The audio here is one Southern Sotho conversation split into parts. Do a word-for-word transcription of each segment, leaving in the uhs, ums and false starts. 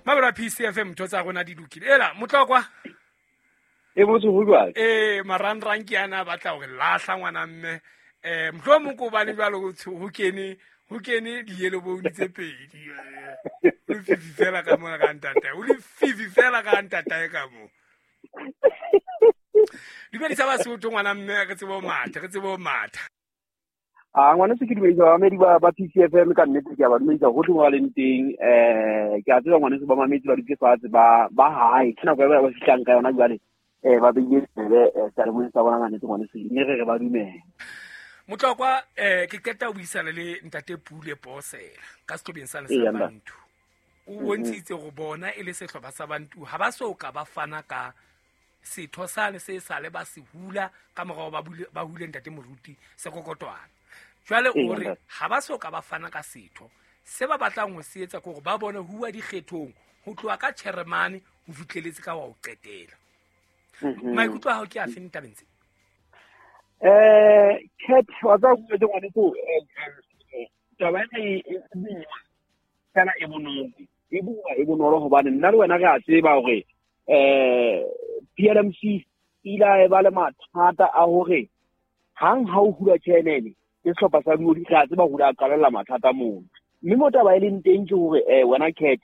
Mabra P C F M ntho tsa rona di lokile. Ela Motlokwa. E botse ho jwang? Eh marangrang ke ana batla hore lahla ngwana mme eh mohlomong ko bane jwalo ho kene ho kene di-yellow bone tse pedi. O le fifi fela ka mona ka ntatae. O le fifi fela ka ntatae ka mo. Dumedisa Basotho ngwana mme re tsebe ho matha, re tsebe ho matha. Ah ngwana se ke dumedisa bamamedi ba ba P C F M ka nnete ke a ba dumedisa hohle mo ba leng teng. Eh ke a tseba ngwaneso ba mametse ba dutse fatshe ba ba hae. Ke nako ya ba fihlang ka yona jwale. Eh ba beile tsebe seyalemoyeng sa bona ka nnete ngwaneso mme re re ba dumele. Motlokwa eh ke qeta ho buisana le ntate Pule Posela ka sehlobeng sa sa Bantu. O bontshitse go bona e le sehlopha sa Bantu ha ba so ka ba fana ka setho sane se sale ba se hula ka morao ba bule ba hule ntate Moruti Sekokotwana. Jwale o re ha ba so ka ba fana ka setho se ba batlang ho se etsa ke hore ba bone huwa dikgethong ho tloha ka chairman ho fitleletse ka wa ho qetela. Maikutlo a hao ke a feng tabeng tse? Eh Cat wa tsa go ngwane ko taba ena e boima fela e bonolo e bua e bonolo hobane nna le wena re a tseba hore eh P L M C ila e ba le mathata a hore hang ha o hula chairman ke sehlopha sa Dioli re a tseba hore a qalella mathata moo mme mo taba e leng teng ke hore eh wena Cat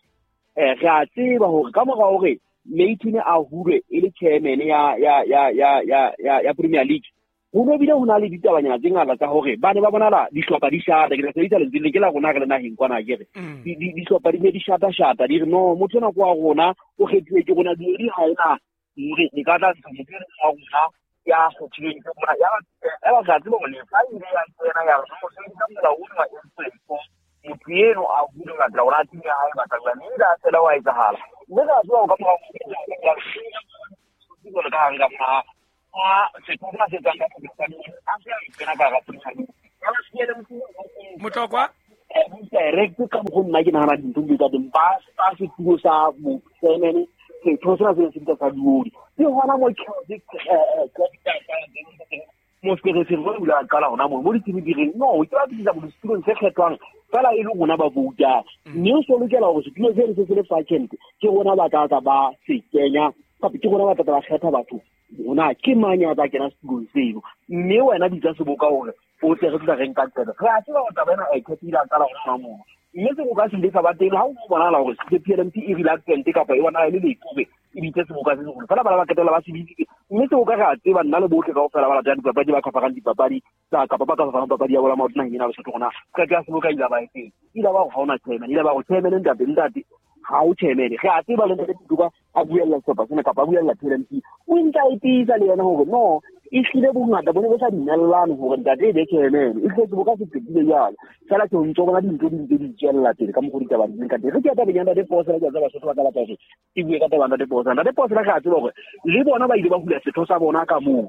eh re a tseba hore ka mora hore Mayton a hulwe e le chairman ya ya ya ya ya ya Premier League ho no bile ho na le ditabanyana tse ngata tsa hore ba ne ba bonala dihlopha di shata ke tla sebedisa lentswe le ke la rona re le naheng kwana ke re dihlopha di ne di shata shata di re no motho ena kwa rona o kgethuwe ke rona Dioli ha ena hore e ka tla ntsha motho ena wa rona ya kgethilweng ke rona ya ba re a tseba hore lefa ile ya tsena ya re mo sebedisa molao ona wa M twenty-four motho eno a hule ho latela hore a team ya hae batla jwang mme a fela wa etsahala mme re a tseba hore ka mora jwalo ka hare ka mora Motlokwa direct ka mokgo nna ke nahana dintho di ka teng ba ba setulo sa bochairman setho sena se se sa Dioli ke hona mo mo sekeresere o ile a qala hona moo mo ditsebi di reng no ke ba tlisa bo setulong se kgethwang fela e le rona ba voutang mme o so lokela hore setulo se se se le vacant ke rona ba tla tla ba se kenya kapa ke rona ba tla ba kgetha batho rona ke mang ya tla kena setulong seno mme wena bitsa seboka hore o tle re tla re nka qeto re a tseba hore taba ena e khethile a qala hona moo mme seboka se ile sa ba teng ha o bonahala hore se P L M C e reluctant kapa e bona e le lekobe e bitse seboka se seholo fela bana ba qetella ba se bitsitse mme seboka re a tseba nna le bohle kaofela ba latang dipapadi ba khafarang dipapadi tsa kapa ba ka farang papadi ya bola maoto naheng ena Lesotho rona qeto ya seboka ile ba e teng ile ba hore ha ona chairman ile ba hore chairman ntate ntate ha o chairman re a tseba le ntate Tuka a buella sehlopha sena kapa a buella P L M C o ntse a itiisa le yena hore no e hlile bongata bo ne bo sa dumellane hore ntate e be chairman e hlile seboka se qetile jwalo fela ke o ntso bona dintho di ntse di tswella pele ka mokgwa ditaba di leng ka teng re ke ya tabeng ya ntate Posela ke a tseba Basotho ba tla batla hore ke bue ka taba ya ntate Posela ntate Posela re a tseba hore le bona ba ile ba hula setho sa bona ka moo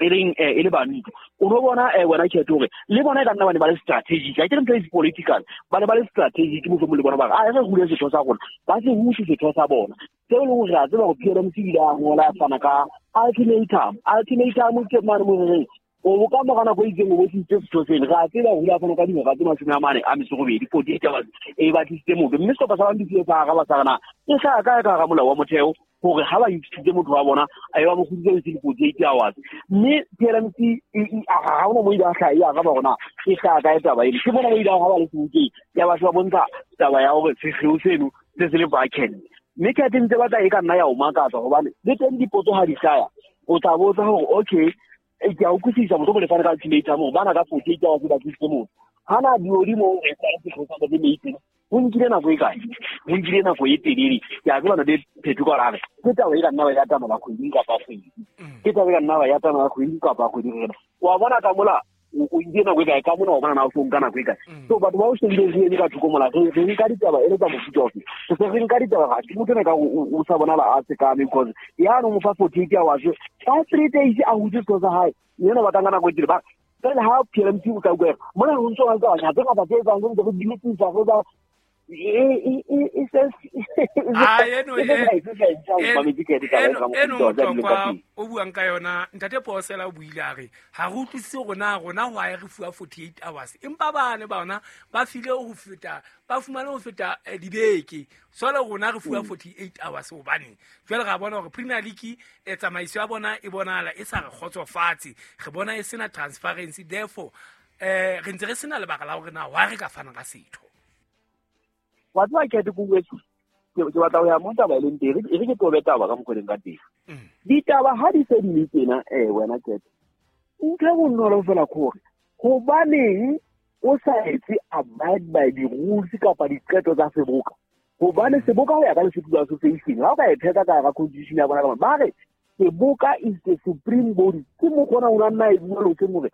e leng e le bantu o no bona eh wena Khetho hore le bona e ka nna ba ne ba le strategic a ke re ntho e political ba ne ba le strategic mohlomong le bona ba re a re hule setho sa rona ba se huse setho sa bona seo e leng hore re a tseba hore P L M C ile a ngola a fana ka ultimatum ultimatum ke mane mo reng o ka mora nako e itseng o bo tlisitse setho seno re a tseba hore o ile a fana ka dihora tse mashome a mane a metso robedi forty-eight hours e ba tlisitse motho mme sehlopha sa Bantu se sa araba sa re na e hlaha kae ka hara molao wa motheo hore ha ba itshitse motho wa bona a ba mo kgutlisitse within forty-eight hours mme P L M C ha hona mo ile a hlaha e araba hore na e hlaha kae taba eno ke bona mo ile ha ba le sebokeng ya batho ba bontsha taba ya hore sekgeo seno se se le vacant mme ke ntse batla e ka nna ya o makatsa hobane le teng dipotso ha di hlaya o tla botsa hore okay e ke a utlwisisa motho mo le fana ka ultimatum hore bana ka forty-eight hours ba tlisitse motho hana Dioli mo re tla sekgeo sa ntate Mayton ho nkile nako e kae ho nkile nako e telele ke a tseba ntate Phetho ka hore ke taba e ka nna ba ya tsamaya kgwedi kapa kgwedi ke taba e ka nna ba ya tsamaya kgwedi kapa kgwedi rena wa bona ka mola o nkile nako e kae ka mona wa bona na o so nka nako e kae so batho ba o shebile re eme ka thoko mola re re nka ditaba e le tsa mofuta ofe se se re nka ditaba ga ke motho ena ka o sa bonala a sekame because ya no mo fa forty-eight hours ka three days a hutse sekolo sa hae yena ba tanga nako e telele ba fela ha P L M C o ka utlwa mona ho ntso ba ntse ba tse ngata tse etsang ntse re di lokisa re ba e e e se ah eno eno eno kwa o buang ka yona ntate Posela o buile a re ha re utlwisise rona rona ho a re fuwa forty-eight hours empa bane bona ba file ho feta ba fumane ho feta dibeke solo rona re fuwa forty-eight hours hobane jwale ra bona hore Premier League e tsamaiso ya bona e bonala e sa re kgotsofatse re bona e sena transparency therefore eh re ntse re sena lebaka la hore na wa re ka fana ka setho wa tswa ke ke kuwetsu ke ke batla ho ya mo taba e leng teng e re ke tobe taba ka mokgoleng ka teng ditaba ha di se di le tena eh wena ke ntho e bonolo fela gore hobaneng o sa etse abide by the rules kapa diqeto tsa seboka hobane seboka ho ya ka Lesotho Association ha o ka e pheta ka hara constitution ya bona ka ba re seboka is the supreme body ke mo kgona ho nna e bua lo ke more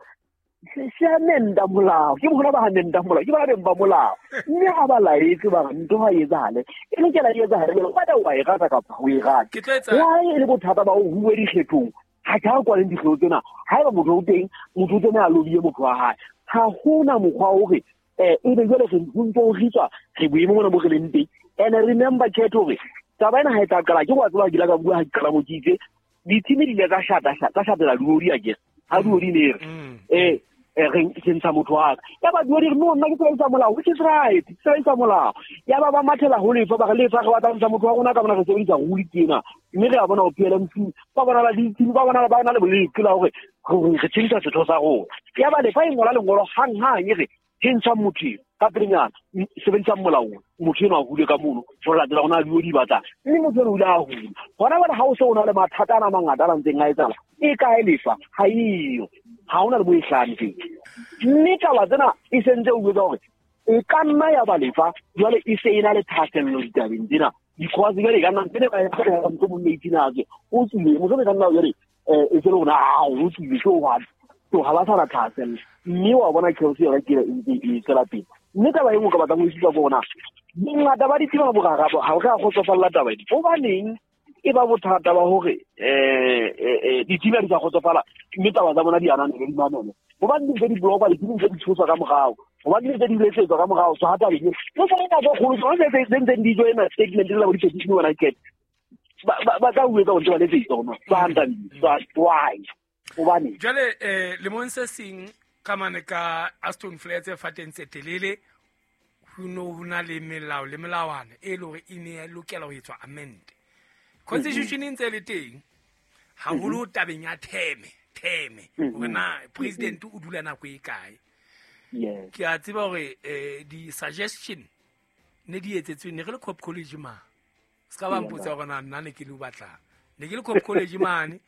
se amenda molao ke bona ba amenda molao ke ba beng ba molao mme ha ba laetse ba ntho ha etsahale e lokela e etsahale ba da wa e rata kapa ho e rata ke tlo etsa wa e le bothata ba ho huwe dikgethong ha ka kwa le dikgetho tsena ha eba motho o teng motho o tsena a lobile motho wa hae ha hona mokgwa hore eh e be jwale re ntso o ritswa re boemo mona bo re leng teng. And remember khetho hore taba ena ha e tla qala ke wa tseba ke la ka bua ha ke qala mo ke itse dithimi di ile tsa shata tsa shatela duodi a ke ha duodi ne re eh re ke ntsha motho wa ka ya ba duodi re no nna ke sebedisa molao which is right sebedisa molao ya ba ba mathela ho lefa ba re lefa re batla ntsha motho wa rona ka bona re sebedisa rule tsena mme re a bona ho P L M C ba bona la dithimi ba bona ba na le boleki la hore re tshentsa setho sa rona ya ba lefa e ngola lengolo hang hang e re tshentsa motho ka pelenyana sebedisa molao motho eno a hule ka mono ho latela hona duodi batla mme motho eno o ile a hula hona bana ha o se o na le mathata ana mangata a ntseng a etsala e kae lefa ha eyo ha ona le bo e hlano teng mme taba tsena e sentse o botsa hore e ka nna ya ba lefa jwale e se e na le thahasello ditabeng tsena because jwale e ka nna ntse ba e tsela motho mo eighteen a ke o tswile motho e ka nna jwale e se le hona a o tswile ke wa to ha ba sa na thahasello mme wa bona Chelsea yona ke e e tswela pele mme taba e nngwe ka batlang ho isupa ke hona bongata ba dithima borara ha o ka kgotsofalla taba ena hobaneng e ba bothata ba hore eh eh dithima di sa kgotsofala mme taba tsa bona di ananele di mamele hobane di ntse di blokwa dithimi ntse di tshoswa ka morao hobane di ntse di letsetswa ka morao so ha taba eno le tsona nako e kgolo tsona tse tse ntseng di joina statement le bo di-petition wena ke ba ba tla o etsa hore ba letsetse hona ba hantane why hobane jwale eh lemong se seng ka mane ka Aston Flats e fateng tse telele ho no ho na le melao le melawana e le hore e ne lokela ho etswa amend constitution e ntse le teng haholo tabeng ya theme theme hore na president o dula nako e kae yes ke a tseba hore eh di suggestion ne di etsetswe ne re le Cop College ma se ka ba mpotsa hore na nna ne ke le o batlang ne ke le Cop College mane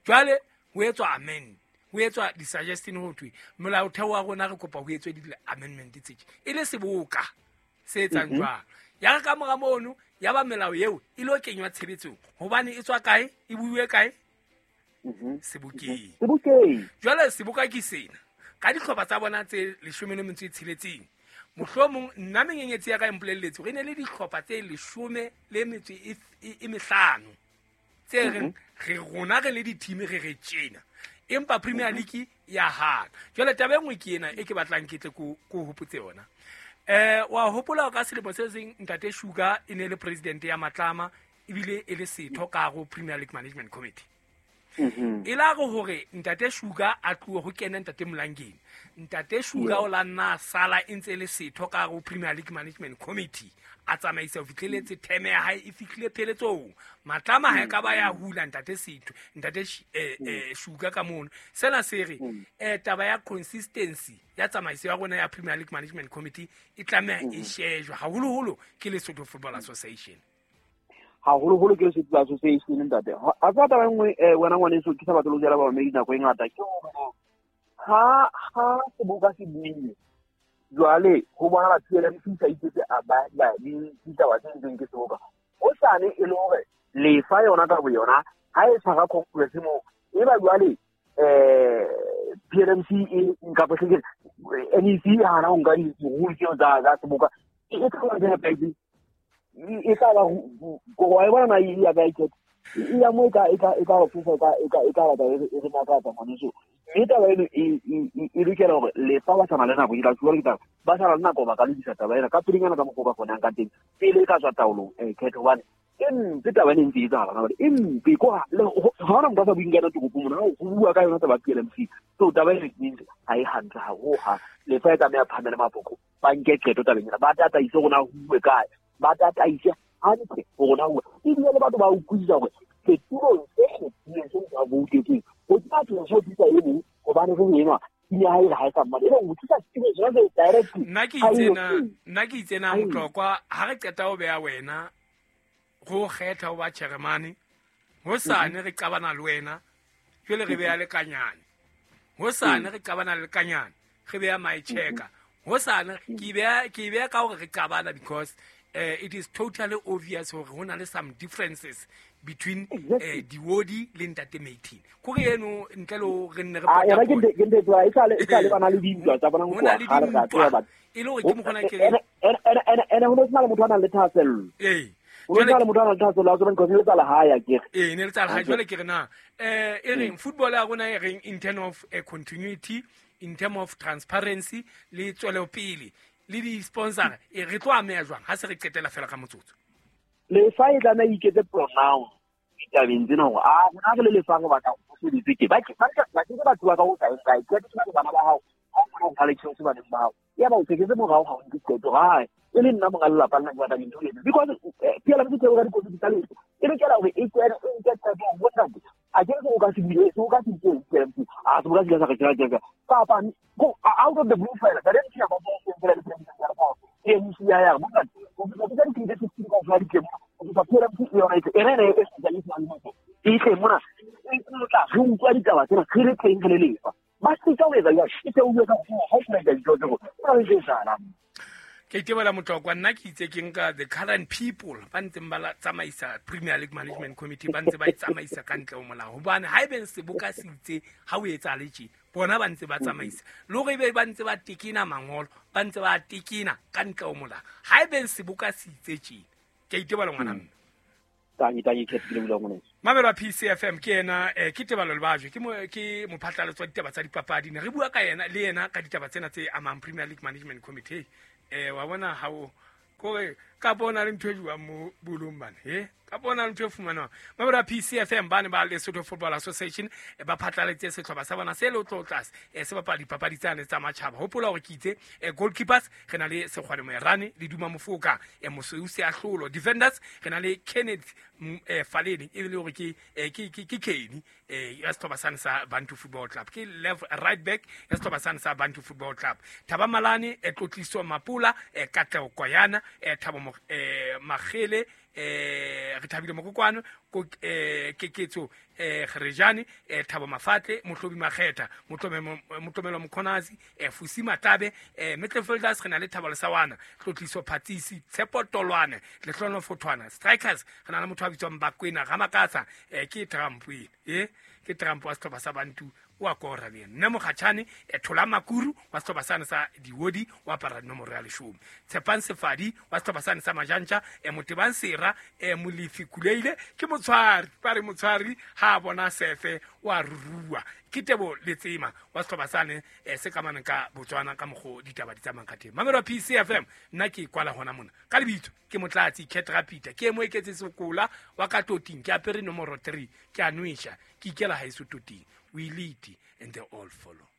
jwale ho etswa amend ho etswa di suggestion ho thwe molaotheo wa rona re kopa ho etswe di amendment tse e le seboka se etsang jwang ya re ka mora mono ya ba melao eo e lo kenywa tshebetsong hobane e tswa kae e buiwe kae sebokeng sebokeng jwale seboka ke sena ka dihlopha tsa bona tse leshome le metso e tsheletseng mohlomong nna menyenyetsi ya ka e mpolelletse hore e ne le dihlopha tse leshome le metso e e mehlano tse reng re rona re le dithimi re re tjena empa Premier League ya hana jwale taba e nngwe ke ena e ke batlang ke tle ko ko hopotse yona eh wa hopola ka selemo se seng ntate Sugar e ne le president ya Matlama ebile e le setho ka go Premier League Management Committee e la go hore ntate Sugar a tlohe ho kena ntate Molangeni ntate Sugar o la nna sala e ntse le setho ka go Premier League Management Committee a tsamaisa ho fihleletse theme ya hae e fihlile pheletsong Matlama ha e ka ba ya hula ntate setho ntate eh, eh, Sugar ka mono sena se re eh taba ya consistency ya tsamaiso ya rona ya Premier League Management Committee e tlameha e shejwe haholoholo ke Lesotho Football Association haholoholo ke Lesotho Association ntate a tsa taba nngwe wena ngwaneso ke sa batle ho jala ba mamedi nako e ngata ke hore ha ha seboka se buile jwale ho bona P L M C sa itsetse a ba ba di ditaba tse ntseng ke seboka o sane e le hore lefa yona ka boyona ha e tshwara congress mo e ba jwale eh P L M C e nka potleke N E C ha na o nka di-rule tseo tsa tsa seboka e tla ba e tla ba go wa e bona na e ya ka e E ya mo e ka e ka e ka re thusa e ka e ka e ka batla e re makatsa ngwaneso. Mme taba eno e e e lokela hore lefa ba sana le nako, ke tla tshwara ke taba ba sana le nako ba ka lokisa taba ena ka pelenyana ka mokgwa o ka kgonang ka teng pele e ka tswa taolong eh khetho, hobane e mpe taba ena e ntse e etsahala hona jwale, e mpe ko ha hona motho a sa buing ka yona toropong mona, ho bua ka yona taba P L M C. So taba ena e ntse ha e hantle haholo ha lefa e tlameha phamele mapoko, ba nke qeto tabeng ena, ba tataise rona ho bue kae, ba tataise hantle ho rona ho ebile le batho ba utlwisisa hore setulong se kgethileng se motho a voutetseng ho tla tloha se thusa e mong hobane re enwa ya hae ha e sa mmane, e re o thusa setulong sona se directly. Nna ke itse na nna ke itse na Motlokwa ha re qeta ho beha wena go kgetha ho ba chairman, hosane re qabana le wena jwale re beha lekanyane, hosane re qabana le lekanyane re beha my checker, hosane ke beha ke beha ka hore re qabana because uh, it is totally obvious hore ho na le some differences between eh Diwodi le Ntate Maitini. Kore eno ntle le re nne re ah yena ke ke ntse e sale e sale bana le dintwa tsa bona go tloha ha re ga tseba batho e le hore ke mokgona ke ene ene ene ho no le motho a nang le thahasello eh ho no le motho a nang le thahasello a tsebang because le tsa lehae ke eh ne le tsa lehae. Jwale ke re na eh e reng football ya rona e reng in term of uh, continuity, in term of transparency le tswelopele le di sponsor e re tlo ameha jwang ha se re qetela fela ka motsotso? Lefa e tlameha e iketse pronoun ditabeng tsena hore a rona re le lefa re batla ho sebetse ke ba ke ba ke ba tloha ka ho sa kae ke ke bana ba hao ha o kgona ho fa le tjhelete baneng ba hao ya ba o teketse morao ha o nke qeto hae e le nna monga lelapa nna ke batla dintho di etse because P L M C tseo ka dikomiti tsa lefa e lokela hore e kene e nke qeto ho ntate a ke re o ka se bule o ka se itse P L M C a se boka se ka re tjela kapa go out of the blue fela ka re tshia ba bo se fela le president ya rona e M C ya ya bo ntate o ka ka di tse ka fa di ke o ka P L M C yona e ene e e sa le motho e tle mona e tla re utlwa ditaba tsena re le teng re le lefa ba se ka o etsa jwang e tse o bua ka ho ho ka dintho tseo o re tsana. Ke itebela Motlokwa, nna ke itse ke nka the current people ba ntseng ba tsamaisa Premier League Management Committee ba ntse ba tsamaisa ka ntle ho molao, hobane ha ebe seboka se itse ha o etsahale tje bona ba ntse ba tsamaisa le hore ebe ba ntse ba tekena mangolo ba ntse ba tekena ka ntle ho molao, ha ebe seboka se itse tje. Ke itebela ngwana mme tangi tangi ke ke bula ngwana Mamelo wa P C F M ke yena eh, ke Tebalo Lebajwe ke mo ke mophatlalatso wa ditaba tsa dipapadi, ne re bua ka yena le yena ka ditaba tsena tse amang Premier League Management Committee. Eh wa bona ha o kore ka bona le ntho e jwang mo bolong bana he ka bona le ntho e fumanwang. Mamelo wa P C F M ba ne ba Lesotho Football Association e ba phatlaletse sehlopha sa bona se le tlo tlase e se bapala dipapadi tsane tsa matjhaba. Hopola hore ke itse goalkeepers re na le Sekgwane Moerane le Duma Mofoka e Mosweu Seahlolo, defenders re na le Kenneth Faleni e le hore ke ke ke Kenny ya sehlopha sane sa Bantu Football Club, ke left right back ya sehlopha sane sa Bantu Football Club, Thaba Malane e Tlotliso Mapula e Katleho Koyana e Thabo Magele eh re thabile Mokokwano ko eh Keketso eh Gerejane eh Thabo Mafatle Mohlobi Makgetha Motlomelo Mokhonazi eh Fusi Matabe eh midfielders re na le Thabo Lesawana Tlotliso Phatsisi Tshepo Tolwane Lehlono Fothwana, strikers re na le motho a bitswang Bakwena Ramakatsa eh ke Trump eh ke Trump wa sehlopha sa Bantu wa kora le nne Mokgatshane e Thola Makuru wa sehlopha sane sa Diwodi wa apara nomoro ya leshome, Tshepang Sefadi wa sehlopha sane sa Majantja e Motebang Sera e Molefi Kuleile ke motshwari ba re motshwari ha bona sefe wa rurua ke Tebo Letsema wa sehlopha sane e se kamaneng ka Botswana ka mokgo ditaba di tsamayang ka teng. Mamelo P C F M nna ke kwala hona mona ka lebitso ke Motlatsi Cat Rapita ke mo eketse sekola wa ka toting ke apere nomoro three ke a nwesha ke ikela haeso toting. We lead and they all follow.